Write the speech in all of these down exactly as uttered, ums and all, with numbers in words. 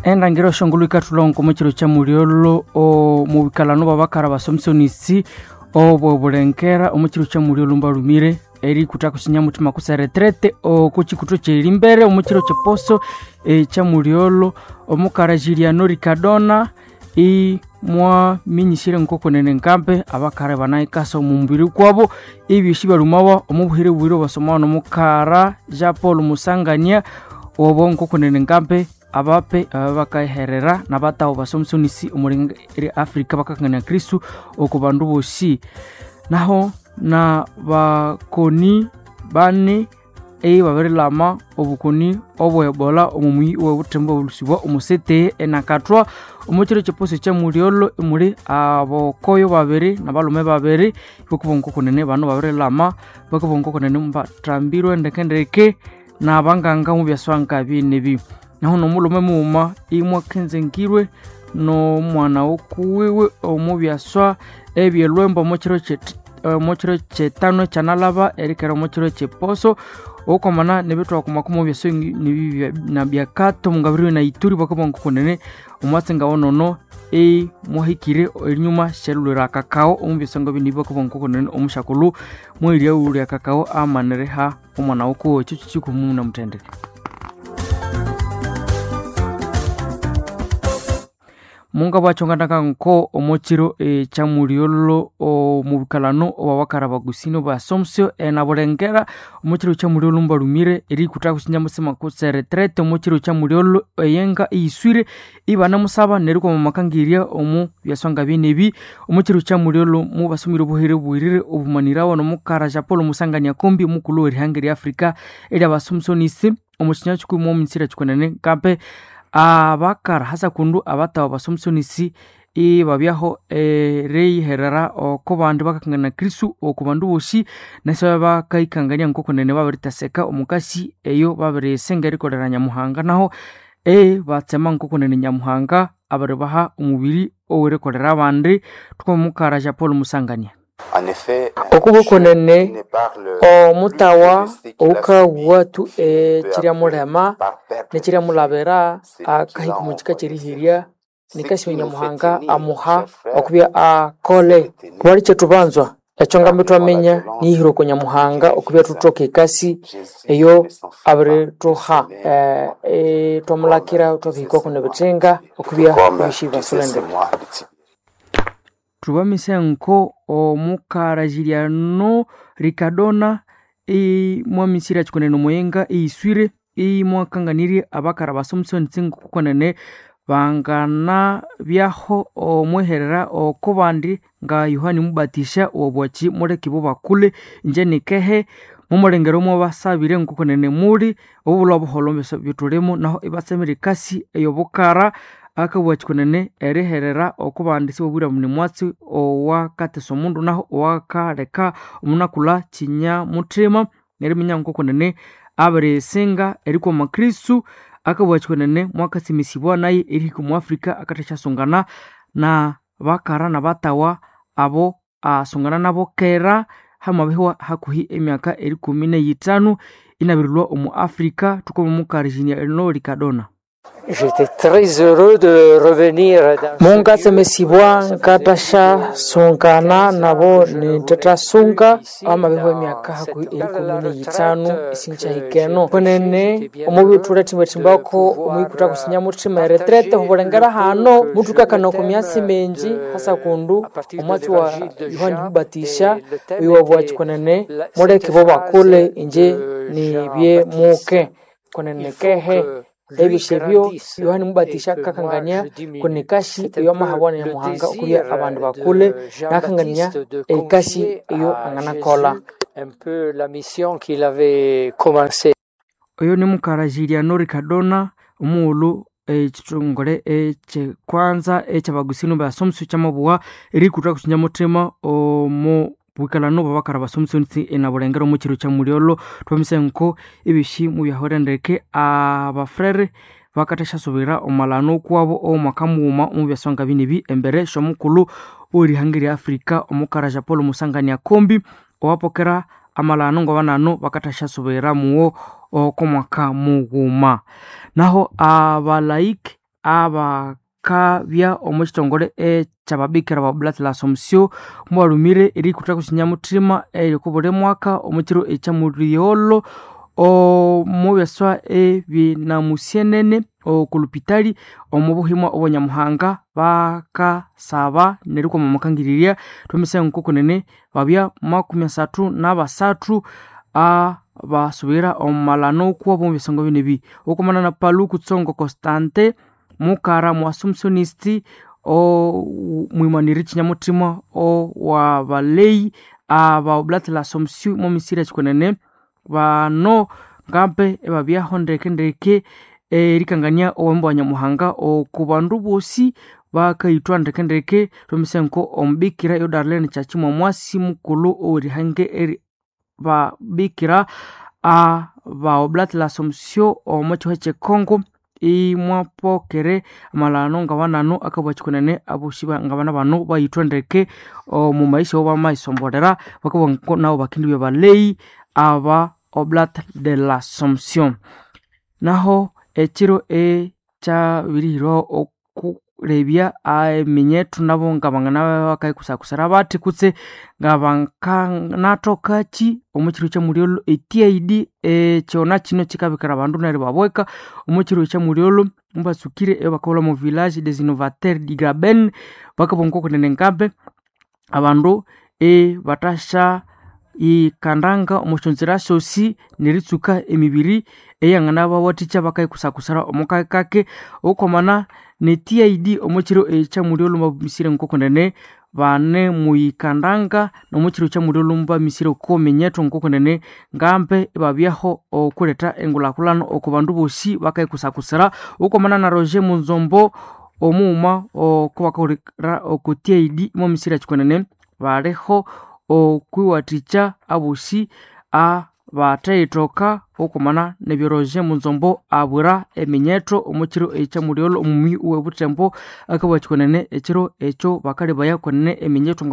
Endangira shongolo ikathulongo omukiro kya mulyolo omubikalano babakara basomsonisi obwo bulengera omukiro kya mulyolo mbalumire erikutha kusinyamuthima kusa retrete okukikuthu kyerimbere omukiro kyeposo ekya mulyolo omukara Juliano Ricardona imwaminyisire nkokunene nkambe abakara banaikasa omumbiri kwabo ebyosi balumawa omubuhere bwire basomawa nomukara Jean Paul Musangania obo nkokunene nkambe abape abakaherera nabataho basomsonisi omuli Afrika bakakangania Kristu oko bandu bosi naho na bakoni bane ebabirilama obukoni obwebola omumuyi owebuthembu obulusibwa omusete enakathwa omukiro kyeposo kyamulyolo emuli abokoyo babiri nabalume babiri bakubonga kunene bano babirilama bakubonga kunene mbathambirwe ndekendeke nabanganga mubyaswanga binebi naho nomulume mughuma imwakenzengirwe nomwana wokuwiwe omubyaswa ebyelwembo omukiro omukiro kyetano ekyanalaba erikera omukiro kyeposo okwamana nebithwakumaku mubyaso nabyakato mungabiriwe na Ituri bakabonga kunene omwatsi ngawonono imwahikire erinyuma syalulira akakao omubyaso bini bakabonga kunene omushakulhu mweriaghulya akakao amaniriha omwana wokuwe ekyo kikikumu namuthendeke. Munga bwachonganaka nko omukiro ekyamulyolo omubikalano obwabakara bagusino basomsyo enabulengera omukiro kyamulyolo mbalumire erikutha kusinyamusima kutse retrete omukiro kyamulyolo eyenga eyiswire ibanamusaba nerikwama makangirya omu byaswanga binebi omukiro kyamulyolo mubasomire obuhere bwirire obumanirawa nomukara Jean Paul Musangania Kombi omukulhu werihanga erya Afrika eryabasomsonisi omukinya kikumi mwomunyisira kikwenene nkampe abakara hasa kundu abatawa basomsonisi ibabyaho eriyiherera oko bandi bakakangana Kristu oko bandu bosi nasi bakaikangania nkokunene babiritaseka omukasi eyo babirisenga erikolera Nyamuhanga naho ebatsema nkokunene Nyamuhanga abiribaha omubiri owerikolera abandi tukomukara Jean Paul Musangania. Okubukunene omutawa oukawathu ekiryamulema nekiryamulabira akahika omukika kyerihirya nikasi Nyamuhanga amuha okubya akole kubali kyethubanzwa ekyo ngambi thwaminya niyihira oko Nyamuhanga okubya thuthoka ekasi eyo abirithuha eh, thwamulakira thwabihika kuno ebithinga okubya ebisi basulendeke. Thubamise nko omukara Juliano Ricardona imwamisire kikunene omuyenga eyiswire imwakanganirye abakara basomsonisi nkokunene bangana byaho omweherera oko bandi nga Yohani Mubatisha obwaki muleke ibo bakule inje nikehe mumulengero mwabasabire nkokunene muli obulwa obuholho byethulimu naho ibatsemire ekasi eyobukara akabugha kikunene eriherera okubandi sibabwira muni mwatsi owakatesa omundu naho owakaleka omunakulha kinyamuthima neriminya nkokunene abirisinga erikwama Kristu akabugha kikunene mwakasimisibwa naye erihika omu Afrika akathasyasungana na bakara nabatawa abo asungana nabo kera hamabihwa hakuhi emyaka erikumi neyithanu inabirilhwa omu Afrika thukomo Juliano Ricardona. J'étais très heureux de revenir dans Mungatsemesibwa nkathasya-sungana nabo nithathasunga amabihwa emyaka hakuhi erikumi neyithanu isinkyahikeno kwenene omubithura thimbathimbako omwikutha kusinyamuthima eretrete hubulengera hano muthukakana oko myatsi mingi hasa kundu omwatsi wa Yohani Mubatisha oyu kwenene muleke bo bakule inje nibye muke kwenene kehe ebisyo ebyo Yohani Mubatisha akakangania kunikashi eyo amahabwana Nyamuhanga okubya abandu bakule nakangania ekasi eyo anganakolha. Un peu la mission qu'il avait commencée. Oyo ni mukara Juliano Ricardona omughulhu ekithongole ekyekwanza ekyabagusino basomsyo kyamabugha erikutha kusinyamuthima omu bwikalano bwabakara basomsonisi enabulengera omukiro kyamulyolo thwamise nko ebyosi mubyahwere ndeke abafrere bakathasyasubira omalano kwabo omwaka mughuma omubyasonga binebi embere syomukulhu werihanga erya Afrika omukara Jean Paul Musangania Kombi owapokera amalano ngabanano bakathasyasubira muwo okomwaka mughuma. Naho abalaiki abakabya omu kitongole ekyababikira ba Oblates de l'Assomption mubalumire erikutha kusinyamuthima eriko buli mwaka omu kiro ekyamulyolho omu byaswa ebinamusyenene okulupitali omu buhimwa obwanyamuhanga bakasaba nerikwama omukangirirya thwamisa nkokunene babya makumi asathu nabasathu abasubira omu malano kwabo omu byasongo binebi okumana na Paluku Tsongo Constante mukara mu Assumptionist omwimaniri kinyamuthima owabaleyi aba Oblates de l'Assomption mu misiri ekikwenene bano ngambe ebabyaho ndeke erikangania owembo wa nyamuhanga oku bandu bosi bakayithwa ndeke thwamisa nko omubikira yo Darlene Kyakimwa mwasi mukulhu owerihange eri babikira aba Oblates de l'Assomption omu kihwa kyekongo imwapokere amalano ngabanano akabwa kikwenene abosi ngabana bano bayithwa ndeke omu maisha bamaisombolera bakabwa nabo bakindibya baleyi aba Oblates de l'Assomption. Naho ekiro ekyabirihirwaho okurebya eminyethu nabo ngabangana bakayikusakusira bathi kutse ngabanganatokaki omu kiro kyamulyolho e T I D ekyona kino kikabikira abandu neryo babweka omu kiro kyamulyolho mubatsukire ebakaghulha omu village des innovateurs du Graben bakabugha ngokunene ngambe abandu ibathasya ikandanga omu syonzira syosi neritsuka emibiri eyanganabawathikya bakayikusakusira omu kakake okwamana ne T I D omu kiro ekyamulyolho bamisire ngokunene bane muyikandanga nomu kiro kyamulyolho mubamisire oko minyethu ngokunene ngambe ibabyaho okuletha engulhakulhana oko bandu bosi bakayikusakusira okwamana na Roger Munzombo omughuma oko bakahulira oko T I D mwamisire ekikwenene baliho okwiwathikya abosi abatheyithoka okwamana nebyo Roger Munzombo abwira eminyetho omu kiro ekyamulyolho omumuyi owe Butembo akabugha kikwenene ekiro ekyo bakalebaya kwenene eminyetho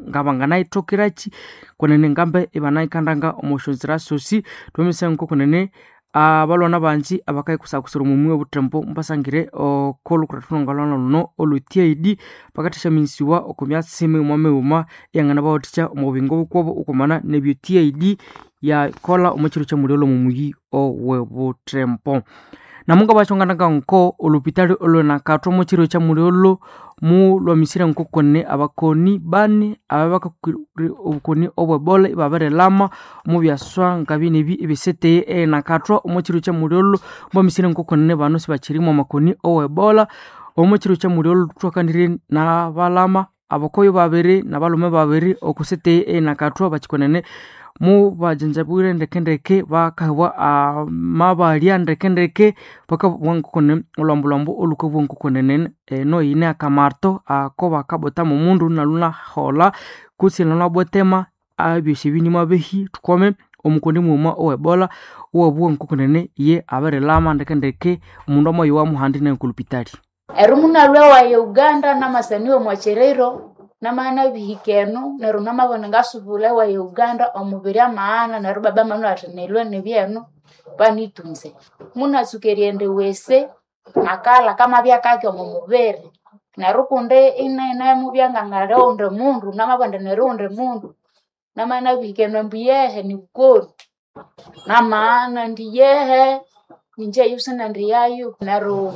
ngabanganayithokeraki kwenene ngambe ibanayikandanga omu syonzira syosi thwamisa ngokunene abalwana bangi abakayikusakusira omumuyi owe Butembo mubasangire oko lhukuratano ngalhwana luno olwe T I D bakathasyaminisiwa oko myatsi mighuma mighuma eyanganabawathikya omu buyingo bukwabo okwamana nebyo T I D yakolha omu kiro kyamulyolho omumuyi owe Butembo. Namunga nko olupitali olwenakathwa omu kiro kyamulyolho mulwamisire ngokone abakoni bani ababakakiri obukoni obwebola ibabirilama omu byaswa ngabinebi ebiseteye enakathwa omu kiro kyamulyolho mubamisire ngokone bano sibakyirimu amakoni owebola omu kiro kyamulyolho thwakanire nabalama abakoyo babiri nabalhume babiri okuseteye enakathwa bakikonene mubajanjabwire ndekendeke bakahebwa amabalya ndekendeke bakabugha ngokone olhwambu olhukabugha ngokonene eno yine akamarto ako bakabothamu omundu nalhunaholha kutse nalhunabwetema ebyosi ebi nimwabehi thukwame omukoni mughuma owebola owabugha ngokonene ye abirilama ndekendeke omundu amayowamu handi nekulupitali. Eri munalhwa ewayi Uganda namasaniwa omwakyerero namana bihika eno neryo namabana ngasubula ewayi Uganda omubiri amaghana neryo baba manwa athi nilwe nibyeno banitunze. Munatsuka erighenda ewese nakalha kamabya kake omo mubiri neryo kundi inene mubya ngangali owundi mundu namabugha indi niri owundi mundu namana bihika eno ambu yehe nibukoni namaghana indi yehe inje sinendiyayo neryo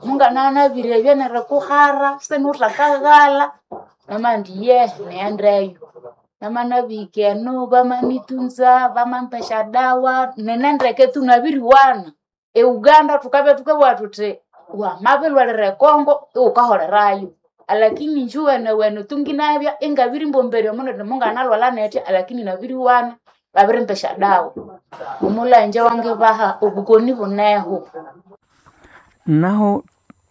mungananabirebya nerikuhara sinuthakaghalha namabugha indi yehe nighendeyo. Namanabihika eno bamanitunza bamampa esyadawa ninendeke tu nabiriwana. E Uganda thukabya thukabugha thuthi wamabilhwalira e Congo iwukaholerayo alakini inje iwenewene tu nginabya ingabirimbombere omundu indi munganalhwalha nethya alakini nabiriwana babirimpa esyadawa. Omulhangye wangibaha obukoni buneho. Naho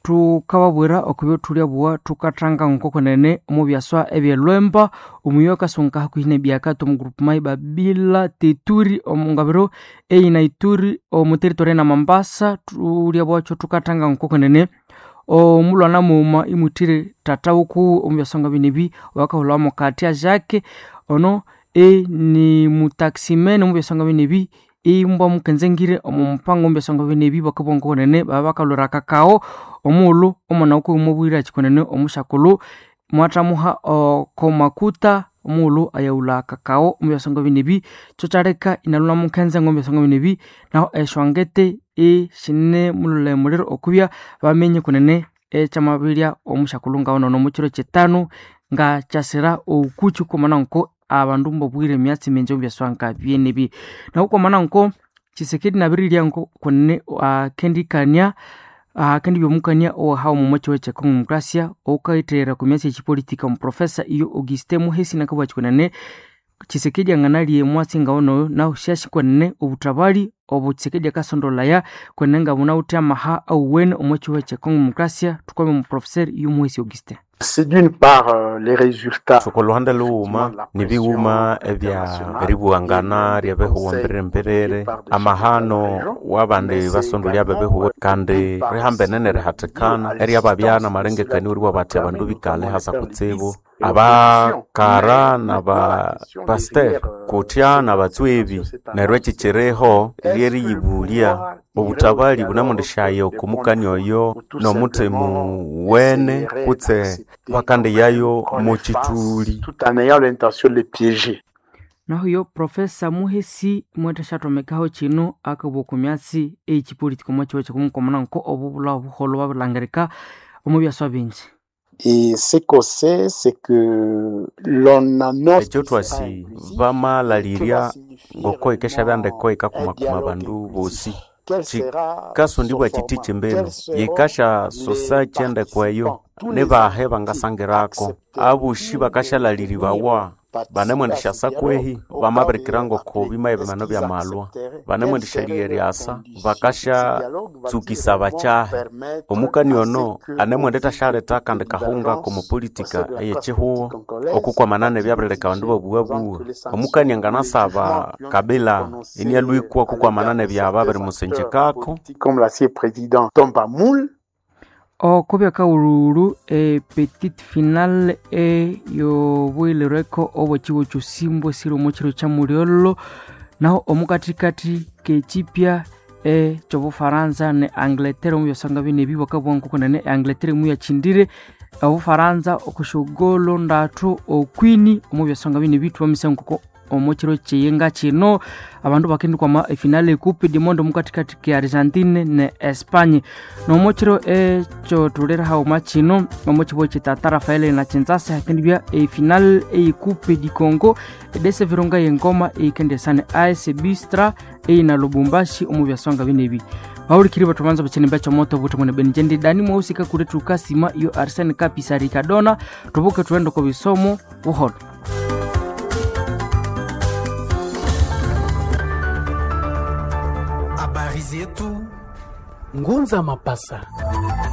thukababwira okubyo thulyabuwa thukathanga ngokunene omu byaswa ebyelwemba omuyi akasunga hakuhi nebyakati omu groupement Babila Teturi omu ngabiro eyina Ituri omu territory na Mambasa thulyabuwakyo thukathanga ngokunene omulwana mughuma imuthire tata wukuwe omu byaswa ngabinebi owakahulhawa Katia Jacques ono e ni mutaximene omu byaswa ngabinebi Imbwa mukenzengire omu mupango omu byasonga bene ebi bakabugha ngokunene baba bakalhwira akakao omughulhu omwana wukuwe mwabwire akikunene omusyakulhu mwathamuha oko makuta omughulhu ayaghulha akakao omu byasonga bine ebi kyokyaleka inalhwa mukhenze ngomu byasonga bine ebi nahu esyongete isinemulholha emuliro okubya bamenye kunene ekyamabirya omusyakulhu ngawunono omu kiro kyitanu ngakyasira okukyi kwamana nko abandu mbabwire emyatsi mingi omu byaswanga byenebi nahu kwamana nko Tshisekedi nabirirya nko kunene akendikania akendibya omukania owahawa omu kyihugho kye Congo Demokrasia owukayitherera okwa myatsi y'ekipolitika omuprofesa iyo Augustin Muhesi nakabugha kwenene Tshisekedi anganalya emwatsi ngawunoyo nahu syasi kwenene obuthabali obu Tshisekedi akasondolaya kwenene ngabunawithe amaha awuwene omu kyihugho kye Congo Demokrasia thukwame omuprofesa iyo Muhesi Augustin. C'est d'une part euh, les résultats Thuka olhuhande lhughuma nibighuma ebya eribughangana ryebihugo mbiriri-mbiriri amahano wabandi basondolya bebihugo kandi rihambene nerihathikana eryababya namalengekania eribugha bathi abandu bikale hasa kutsibu abakara nabapasiteri kutya nabatswebi neryo ekyi kyiriho ryeriyibulya obuthabali bunemundishaya okumukania oyo nomuthima wene kutse bakandiyayo mukyithuli tout en ayant l'intention de les piéger. Nahu yo Profesa Muhesi mwethasyathomekeho kino akabugha okwa myatsi eyekipolitika omo kyihugho kyekumukomana nko obubulha obuholho bwabirilhangirika omu byaswa bingi. Et ce qu'on sait, c'est que l'on annonce ekyo thwasi bamalalirya ngoko yikeshabya ndeko yikakumakuma abandu bosi kyikasondibwa kyithi kyimbinu yikasyasosa kyendeko eyo nibahe bangasangirako abosi bakasyalaliribawa banemwendisyasa kwehi bamabirikira ngoko bimaye bimano byamalwa banemwendisyaligha eryasa bakasyatsukisa bakyahi omukani ono anemwendithasyaleta akandi kahunga komupolitika eyekyihugho okukwamana nebyabirileka abandu babughabugha omukani anganasaba Kabila inialhwikwa okukwamana nebyaba birimusinjikako Comme l'ancien président Tomba Moule, Oko byakawululu e petite finale eyobuyilirweko obwekigo kyosimbu esiri omu kiro kya mulyolho naho omukathikathi k'ekyipya ekyobufaransa ne Angleterre omu byasanga bine ebi bakabugha ngokunene Angleterre muyakyindire obufaransa okusyogolo ndathu okwini omu byasanga bine ebi thwamisa ngoko omu kiro kyeyenga kino abandu bakendikwama efinale ecoupe du monde omukathikathi ke Argentine ne Espagne nomu kiro ekyo thulira haghuma kino omu kibuga kyitata Rafael na Kinshasa hakendibya efinale ecoupe du Congo edese virunga yengoma eyikendesane A S Bistra eyina Lubumbashi omu byasonga binebi bahulikiri bathubanza bakyinimba kyomoto obuthi mwene benjendi dani mwahusika kuri thukasima iyo Arsene Kapisa Ricardona thubuke thughende oko bisomo buholo. Habari zetu Ngunza Mapasa.